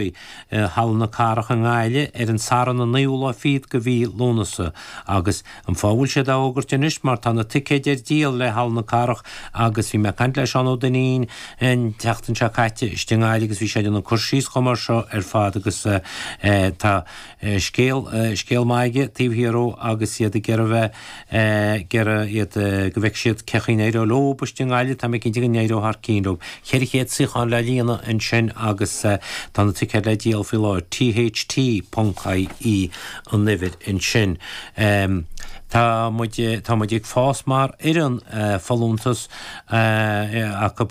I Halla na Cathrach i nGaillimh ar an Satharn an naoú lá fichead de mhí Lúnasa agus an fáth a bhfuil siad á fhógairt anois mar tá na ticéid ar díol le Halla na Cathrach agus bhí mé ag caint le Seán Ó Duinnín an tseachtain seo caite istigh i nGaillimh agus bhí sé ag déanamh cur síos chomh mar seo ar fad agus tá scéal scéal maith aige taobh thiar dhó agus iad ag iarraidh bheith ag iarraidh iad go bhfeicfidh siad cén chaoi a n-éireoidh leo istigh i nGaillimh, tá mé cinnte go n-éireoidh thar cinn leo. 400 suíochán le líonadh ansin agus tá na ticéid le díol faoi láthair, tht.ie an uimhir ansin. Tá muid, tá muid ag fás mar fhoireann, folúntas acu,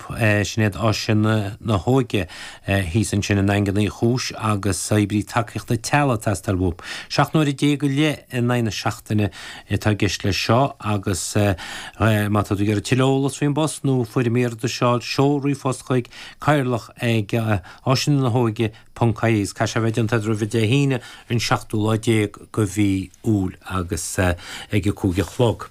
sin iad Áiseanna na hÓige thíos ansin i nDaingean Uí Chúis agus oibrí tacaíochta teaghlaigh ag teastáil uathu. 17 nuair go leith in aghaidh na seachtaine atá i gceist leis seo agus má tá tú ag iarraidh tuilleadh eolas faoin bpost nó foirm iarratais a fháil, seol ríomhphost chuig cathaoirleach ag áiseanna na hóige ponc ie agus caithfidh sé a bheith déanta roimh Dé hAoine an seachtú lá déag de mhí Iúil agus ag a 5 a chlog.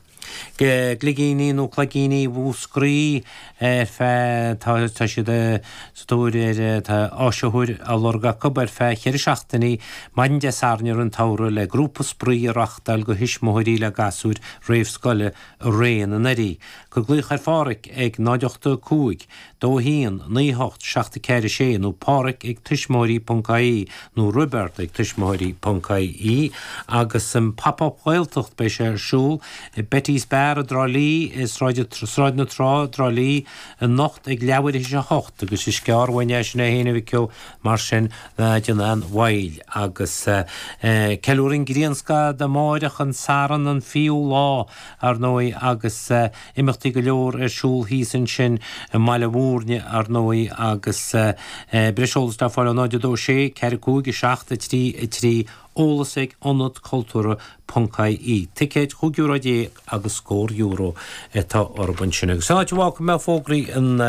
Gligíní nó Cloigíní Mhúscraí ar feadh, tá, tá siad sa tóir ar, tá áisitheoir á lorg acu ar feadh cheithre seachtainí, maidin Dé Sathairn i rith an tsamhraidh le grúpa spraoi a reachtáil do thuismitheoirí le gasúir réamhscoile i rith an earraigh. Cuir glaoch ar Phádhraic ag 0 8 5 2 1 9 8 7 4 6 nó Pádhraic ag tuismitheoirí ponc ie nó Roibeard ag tuismitheoirí ponc ie agus an Pop Up Ghaeltacht beidh sé ar siúl i Betty's Bar i dTrá Lí i Sráid Sráid na Trá i dTrá Lí anocht ag leathuair théis a hocht agus is gearr uainn é sin é féin a Mhic Ó mar sin ná déan aon mhoill agus ceiliúradh an Ghrianscáth amáireach an Satharn an 20ú lá ar ndóigh agus imeachtaí go leor ar siúl thíos ansin i mBaile Mhúirne, ar ndóigh, agus breis eolais le fáil ó 0 2 6 4 5 7 3 3, eolas ag Ionad Cultúrtha ponc ie. Ticéid chúig euro déag agus scór euro atá orthu ansin. Agus an áit a bhfágfaidh mé fógraí an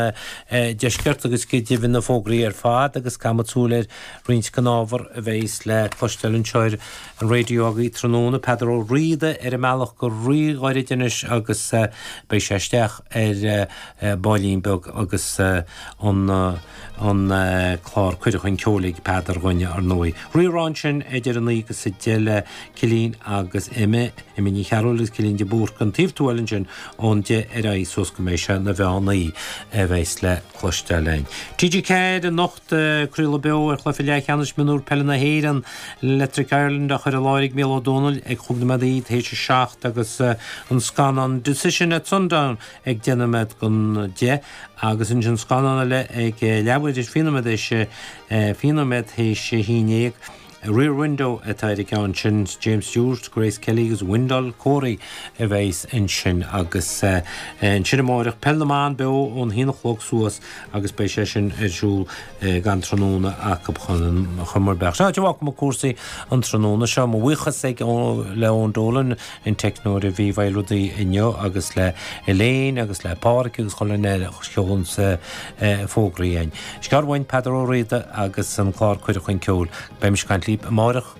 deiscirt agus go deimhin na fógraí ar fad agus caithfimid súil ar roinnt den ábhar a bheidhs le cloisteáil anseo ar an raidió agaibh tráthnóna, Peadar Ó Riada ar an mbealach go rí-ghairid anois agus beidh sé isteach ar baillín beag agus an an clár Cuireadh Chun Ceoil ag Peadar dhúinn ar ndóigh. Rí-Rá ansin idir a naoi agus a deich le Cillín agus Emma, Emma Ní Chearúil agus Cillín de Búrca an taobh tuathail ansin ón deich ar aghaidh suas go mbeidh sé 'na mheán oíche a bheidhs le cloisteáil againn. TG4 anocht. Craoladh beo ar chluiche leathcheannais mionúr peile na hÉireann, Electric Ireland á chur i láthair ag Mícheál Ó Domhnaill ag chúig nóiméadaí théis a 7 agus an scannán Decision at Sundown ag 10 nóiméad don 10 agus ansin scannán eile ag leathuair 20 nóiméad théis 20 nóiméad théis a haon déag. Rear Window atá ar an gceann sin, James Stewart, Grace Kelly agus Wendell Corey a bheas ansin agus ansin amáireach Peil na mBan beo ón haon a chlog suas agus beidh sé sin ar siúl gan tráthnóna acu chun chun mar beadh. Sin áit a bhfágfaidh mé cúrsaí an tráthnóna seo. Mo bhuíochas ag le Eoin Dolan an teicneoir a bhí i bhfeighil rudaí inniu agus le Elaine agus le Pádhraic agus chuile dhuine eile a sheolann fógraí againn. Is gearr uainn Peadar Ó Riada agus an clár Cuireadh Chun Ceoil. Beidh mise ag caint libh amáireach.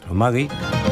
Maith agaibh.